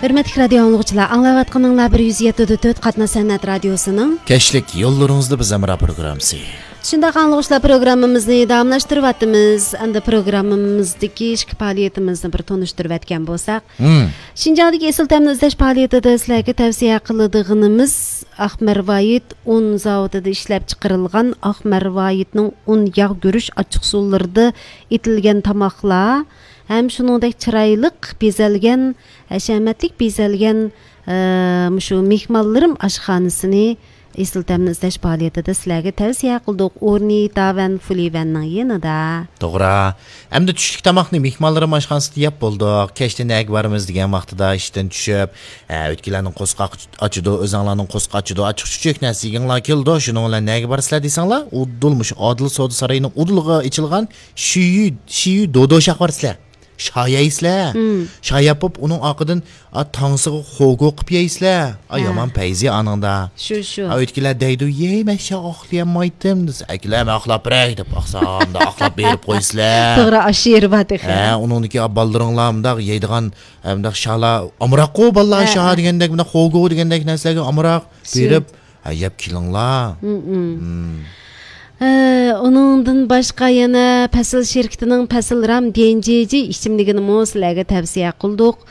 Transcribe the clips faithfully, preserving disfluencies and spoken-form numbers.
ھۆرمەتلىك رادىيو ئاڭلىغۇچىلار، ئاڭلاۋاتقىنىڭلار بىر يۈز يەتتە دۆت قاتناش سەنئەت رادىيوسىنىڭ كەچلىك يوللىرىڭىزدا بىز ھەمراھ پروگراممىسى. شۇنداق ئاڭلىغۇچىلار، پروگراممىمىزنى داۋاملاشتۇرۇۋاتىمىز. ئەمدى پروگراممىمىزدىكى ئىچكى پائالىيىتىمىزنى بىر تونۇشتۇرۇۋەتكەن بولساق، مم. شىنجاڭدىكى ئېسىل تەمنى ئىزدەش پائالىيىتىدە سىلەرگە تەۋسىيە قىلىدىغىنىمىز ئاق مەرۋايىت ئۇن زاۋۇتىدا ئىشلەپچىقىرىلغان ئاق مەرۋايىتنىڭ ئۇن ياغ گۈرۈچ ئاچچىقسۇلىرىدا ئېتىلگەن تاماقلار ھەم شۇنىڭدەك چىرايلىق بېزەلگەن، ھەشەمەتلىك بېزەلگەن، ئە، مۇشۇ مېھمانلىرىم ئاشخانىسىنى ئېسىل تەمنى ئىزدەش پائالىيىتىدە سىلەرگە تەۋسىيە قىلدۇق. ئورنى داۋەن فۇلىۋەننىڭ يېنىدا. توغرا. ئەمدى چۈشلۈك تاماقنى مېھمانلىرىم ئاشخانىسىدا يەپ بولدۇق. كەچتە نەگە بارىمىز دېگەن ۋاقتىدا ئىشتىن چۈشۈپ، ھە، ئۆتكىلەرنىڭ قورسىقى ئاچىدۇ، ئۆزۈڭلارنىڭ قورسىقى ئاچىدۇ، ئاچچىق چۈچۈك نەرسە يېگۈڭلار كېلىدۇ. شۇنىڭ بىلەن نەگە بارىسىلەر دېسەڭلار، ئۇدۇل مۇشۇ ئادىل سودا سارىيىنىڭ ئۇدۇلىغا ئېچىلغان شىيۈ، شىيۈ دودوشاققا بارىسىلەر. شايايسىلەر. مم. شاياپ بولۇپ، ئۇنىڭ ئارقىدىن، ئا، تاڭسىغا خوگو قىپ يەيسىلەر. ئا، ھە. يامان پەيزى ئانىڭدا. شۇ، شۇ. ئا، ئۆتكىلەر دەيدۇ، يەي، مەن شا ئاقلىيالمايتتىم دېسە، ئەكىلەر، مەن ئاقلاپ بېرەي دەپ ئاقسامدا ئاقلاپ بېرىپ قويسىلەر. توغرا، ئاشۇ يېرى بار تېخى. ھە، ئۇنىڭدىكى، ئا، بالىلىرىڭلار مۇنداق يەيدىغان، ھە، مۇنداق شالا ئامراققۇ بالىلار، ھە، شا ھە. دېگەندەك، مۇنداق خوگو دېگەندەك نەرسىلەرگە ئامراق شۇ. بېرىپ، ھە، يەپ كېلىڭلار. مم، مم. مم. ئە، ئۇنىڭدىن باشقا يەنە پەسىل شىركىتىنىڭ پەسىل رام ديەنجيېجى ئىچىملىكىنىمۇ سىلەرگە تەۋسىيە قىلدۇق.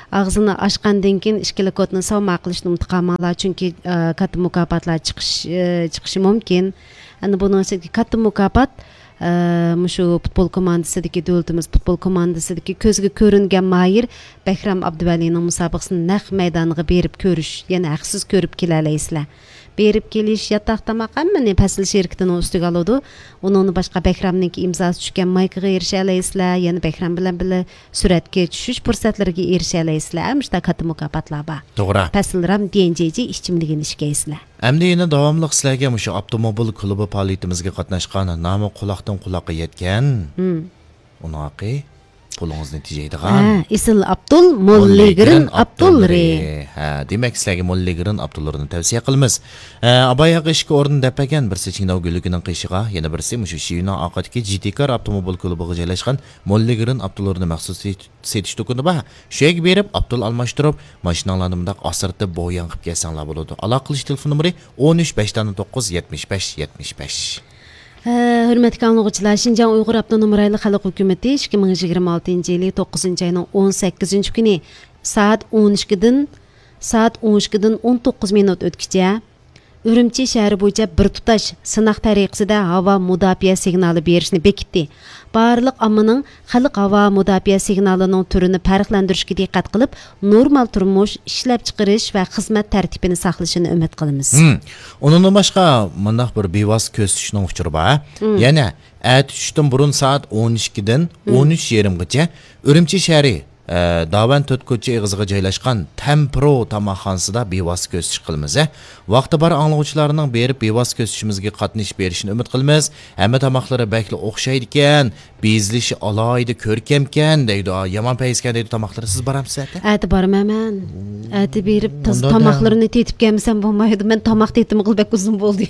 ئاغزىنى ئاچقاندىن كېيىن ئىككىلا كودنى ساۋما قىلىشنى ئۇنتۇپ قالماڭلار، چۈنكى، ئە، كاتتا مۇكاپاتلار چىقىش، ئە، چىقىشى مۇمكىن. ئەنە بۇنىڭ ئىچىدىكى كاتتا مۇكاپات، ئە، مۇشۇ پۇتبول كوماندىسىدىكى، دۆلىتىمىز پۇتبول كوماندىسىدىكى كۆزگە كۆرۈنگەن ماھىر بەھرام ئابدۇۋەلىنىڭ مۇسابىقىسىنى نەق مەيدانىغا بېرىپ كۆرۈش، يەنى ھەقسىز كۆرۈپ كېلەلەيسىلەر. بېرىپ كېلىش، ياتاق، تاماق ھەممىنى پەسىل شىركىتىنىڭ ئۈستىگە ئالىدۇ. ئۇنىڭدىن باشقا بەھرامنىڭكى ئىمزاسى چۈشكەن مايكىغا ئېرىشەلەيسىلەر، يەنە بەھرام بىلەن بىللە سۈرەتكە چۈشۈش پۇرسەتلىرىگە ئېرىشەلەيسىلەر. مۇشۇنداق كاتتا مۇكاپاتلار بار. توغرا. پەسىل رام ديەنجيېجى ئىچىملىكىنى ئىچكەيسىلەر. ئەمدى يەنە داۋاملىق سىلەرگە مۇشۇ ئاپتوموبىل كۇلۇبى پائالىيىتىمىزگە قاتناشقان، نامى قۇلاقتىن قۇلاققا يەتكەن، مم. ئۇنىڭ ھەققى پۇلىڭىزنى تېجەيدىغان. ھە، ئېسىل ئابدۇل، موللىگرىن ئابدۇللىرى. ھە، دېمەك، سىلەرگە موللىگرىن ئابدۇللىرىنى تەۋسىيە قىلىمىز. ھە، ئاباي ھەققى ئىككى ئورۇن دەپ بەرگەن، بىرسى چىڭداۋ گۈللۈكىنىڭ قېشىغا، يەنە بىرسى مۇشۇ شىيۈنىڭ ئارقىدىكى جىتىكار ئاپتوموبىل كۇلۇبىغا جايلاشقان موللىگرىن ئابدۇللىرىنى مەخسۇس سېتىش دۇكىنى بار. شۇ يەرگە بېرىپ، ئابدۇل ئالماشتۇرۇپ، ماشىناڭلارنى مۇنداق ئاسرىتىپ، بوياڭ قىلىپ كەلسەڭلار بولىدۇ. ئالاقىلىشىش تېلېفون نومۇرى ئون ئۈچ، بەش دانە توققۇز، يەتمىش بەش، يەتمىش بەش. ھە، ھۆرمەتلىك ئاڭلىغۇچىلار، شىنجاڭ ئۇيغۇر ئاپتونوم رايونلۇق خەلق ھۆكۈمىتى ئىككى مىڭ يىگىرمە ئالتىنچى يىلى توققۇزىنچى ئاينىڭ ئون سەككىزىنچى كۈنى سائەت ئون ئىككىدىن، سائەت ئون ئىككىدىن ئون توققۇز مىنۇت ئۆتكىچە ئۈرۈمچى شەھىرى بويىچە بىر تۇتاش سىناق تەرىقىسىدە ھاۋا مۇداپىئە سىگنالى بېرىشنى بېكىتتى. بارلىق ئاممىنىڭ خەلق ھاۋا مۇداپىئە سىگنالىنىڭ تۈرىنى پەرقلەندۈرۈشكە دىققەت قىلىپ، نورمال تۇرمۇش، ئىشلەپچىقىرىش ۋە خىزمەت تەرتىپىنى ساقلىشىنى ئۈمىد قىلىمىز. ھىم. ئۇنىڭدىن باشقا، مۇنداق بىر بىۋاسىتە كۆزىتىشنىڭ ئۇچۇرى بار. ھىم. يەنە ئەتە چۈشتىن بۇرۇن سائەت ئون ئىككىدىن ھىم. ئون ئۈچ يېرىمغىچە ئۈرۈمچى شەھىرى، ئە، داۋەن تۆت كوچا ئېغىزىغا جايلاشقان تەمپرو تاماقخانىسىدا بىۋاسىتە كۆزىتىش قىلىمىز. ھە، ۋاقتى بار ئاڭلىغۇچىلارنىڭ بېرىپ بىۋاسىتە كۆزىتىشىمىزگە قاتنىشىپ بېرىشىنى ئۈمىد قىلىمىز. ھەممە تاماقلىرى بەكلا ئوخشايدىكەن. بېزىلىشى ئالاھىدە كۆركەمكەن دەيدۇ، يامان پەيزىكەن دەيدۇ تاماقلىرى. سىز بارامسىز ئەتە؟ ئەتە بارىمەن مەن. ئەتە بېرىپ تازا تاماقلىرىنى تېتىپ كەلمىسەم بولمايدۇ. مەن تاماق تېتىمىغىلى بەك ئۇزۇن بولدى.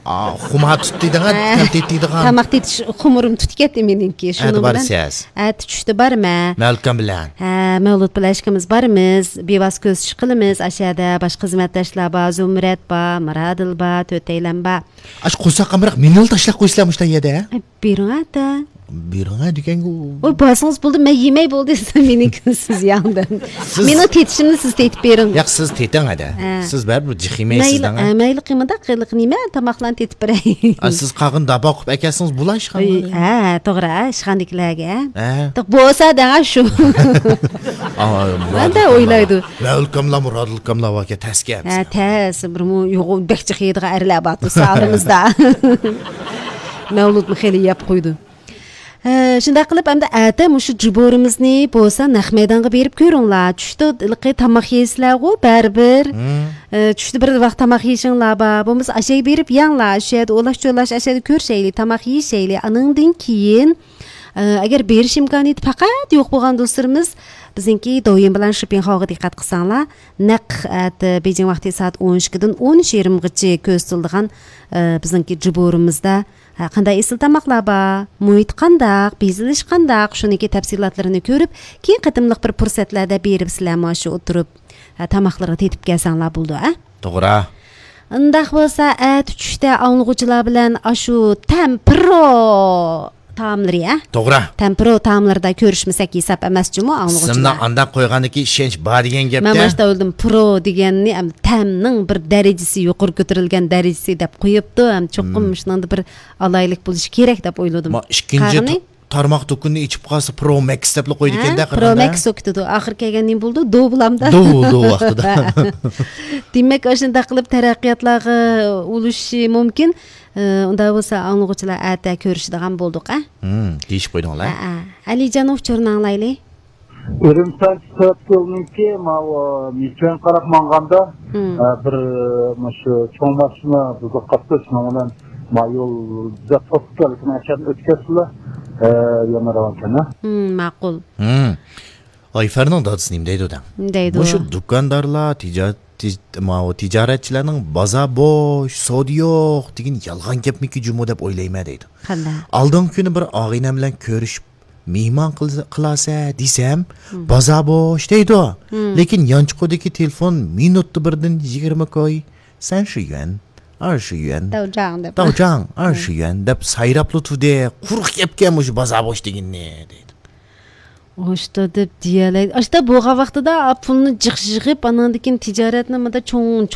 ئا، خۇمار تۇتتى دەڭە، ھە. تېتىدىغان. تاماق تېتىش خۇمۇرۇم تۇتۇپ كەتتى مېنىڭكى. ئەتە بارىسىز؟ ئەتە چۈشتە بارىمەن. مەلكەم بىلەن. ھە، مەۋلۇت بىلەن ئىككىمىز بارىمىز. بىۋاسىتە كۆزىتىش قىلىمىز. ئاشۇ يەردە باشقا خىزمەتداشلار بار، زۇمرەت بار، مىرادىل بار، تۆتەيلەن بار. ئاشۇ قورساق ئامراق مېنىلا تاشلاپ قويسىلەر مۇشۇ يەردە. ئە، بېرىڭ ئەتە. بېرىڭە دېگەنگۇ. ئوي، بارسىڭىز بولدى، مەن يېمەي بولدى، سىز مېنىڭكىنى سىز يەڭ دەپ. سىز مېنىڭ تېتىشىمنى سىز تېتىپ بېرىڭ. ياق، سىز تېتىڭ ھەدە. ھە. سىز بەرىبىر جىق يېمەيسىز مەيلى، دەڭە. ھە، مەيلى قىلمىداق، قىلىق نېمە، تاماقلارنى تېتىپ بېرەي. ئا، سىز قالغان داپا قىلىپ ئەكەلسىڭىز بولا ئىشخانىغا. ھە، توغرا، ئىشخانىدىكىلەرگە. ھە. توق بولسا دەڭە شۇ. ئا، مەن دە ئويلايدۇ. مەۋلۇتكاملا، مۇرادىلكاملا ۋاكە تەسكەن. ھە، تەس، بىر مۇ-، يوغۇن بەك جىق يەيدىغان ئەرلەر بار تۇرسا ئارىمىزدا. مەۋلۇتمۇ خېلى يەپ قويدى. ھە، شۇنداق قىلىپ، ئەمدى ئەتە مۇشۇ جۇبورىمىزنى بولسا نەق مەيدانغا بېرىپ كۆرۈڭلار. چۈشتە ھېلىقى تاماق يەيسىلەرغۇ، بەرىبىر. ھە، چۈشتە بىر ۋاق تاماق يېيىشىڭلار بار. بولمىسا ئاشەگە بېرىپ يەڭلار. شۇ يەردە ئۇلاش-چولاش ئاشەدە كۆرۈشەيلى، تاماق يېيىشەيلى. ئانىڭدىن كېيىن، ئە، ئەگەر بېرىش ئىمكانىيىتى پەقەت يوق بولغان دوستلىرىمىز، بىزنىڭكى دوۋيىن بىلەن شىپىڭخاۋغا دىققەت قىلساڭلار، نەق ئەتە بېيجىڭ ۋاقتى سائەت ئون ئىككىدىن ئون ئۈچ يېرىمغىچە كۆرسىتىلىدىغان، ئە، بىزنىڭكى جۇبورىمىزدا ھە، قانداق ئېسىل تاماقلار بار، مۇھىت قانداق، بېزىلىش قانداق، شۇنىڭكى تەپسىلاتلىرىنى كۆرۈپ، كېيىن قېتىملىق بىر پۇرسەتلەردە بېرىپ سىلەرمۇ شۇ ئولتۇرۇپ، ھە، تاماقلىرىغا تېتىپ كەلسەڭلار بولىدۇ، ھە؟ توغرا. ئۇنداق بولسا، ئەتە چۈشتە ئاڭلىغۇچىلار بىلەن ئاشۇ تەمپىرو تائاملىرى، ھە؟ توغرا. تەمپىرو تائاملىرىدا كۆرۈشمىسەك ھېساب ئەمەس جۇمۇ، ئىسىمنى ئاڭلىغۇچىلار. ئانداق قويغاندىكى ئىشەنچ بار دېگەن مەن گەپتە. ماشتا ئويلىدىم، پرو دېگەننى، ئەم، تەمنىڭ بىر دەرىجىسى يۇقىرى كۆتۈرۈلگەن دەرىجىسى دەپ قويۇپتۇ، ھەم چوقۇم مم. شۇنىڭدا بىر ئالاھىدىلىك بولۇشى كېرەك دەپ ئويلىدىم. ما ئىككىنچى قاغىنى؟ تا-، تارماق دۇكىنىنى ئېچىپ قالسا، پرو مەكس دەپلا قويىدىكەن-دە، ھە؟ پرو قېرىنداش. مەكس بولۇپ كېتىدۇ. ئاخىر كەلگەندە نېمە بولىدۇ؟ دو بولامدا؟ دو، دو ۋاقتىدا. دېمەك، ئاشۇنداق قىلىپ تەرەققىياتلارغا ئۇلىشىشى مۇمكىن. ئى، ئۇنداق بولسا، ئاڭلىغۇچىلار ئەتە كۆرۈشىدىغان بولدۇق، ئە؟ ھىم، دېيىشىپ قويدۇڭلار. ھە، ھە. ئەلىجان ئۇچۇرنى ئاڭلايلى. ئۈرۈمچى ترەپىك يولىنىڭكى ماۋۇ مىچۈەن قاراپ ماڭغاندا، مم. ئە، بىر، مۇشۇ چوڭ ماشىنا بۇزۇلۇپ قاپتۇ، شۇنىڭ بىلەن ما يول جۈدە توسۇپ كەلدى، لېكىن ئاشۇ يەردىن ئۆتكەچلا، ئە، يەنە راۋانكەن، ھە؟ مم، ماقۇل. ھىم. ئايفەرنىڭ دادىسى نېمە دەيدۇ دەڭ؟ نېمە دەيدۇ؟ مۇشۇ دۇكاندارلار، تىجا-، تىج-، ماۋۇ تىجارەتچىلەرنىڭ بازار بوش، سودا يوق دېگىنى يالغان گەپمىكى جۇمۇ دەپ ئويلايمەن دەيدۇ. قانداق؟ ئالدىنقى كۈنى بىر ئاغىنەم بىلەن كۆرۈشۈپ، مېھمان قىل-، قىلارسەن دېسەم، مم. بازار بوش دەيدۇ. مم. لېكىن يانچۇقىدىكى تېلېفون مىنۇتتا بىردىن يىگىرمە كوي، سەن شۇ يۈەن، ئار شۇ يۈەن، داۋجاڭ دەپ. داۋجاڭ، ئار شۇ يۈەن دەپ سايراپلا تۇردى. قۇرۇق گەپكەن مۇشۇ بازار بوش دېگىنى دەيدۇ. ئاشتا دەپ دېيەلەيدۇ. ئاشتا بولغان ۋاقتىدا پۇلنى جىق يىغىپ، ئاناندىن كېيىن تىجارەتنى مۇنداق چوڭ، چوڭ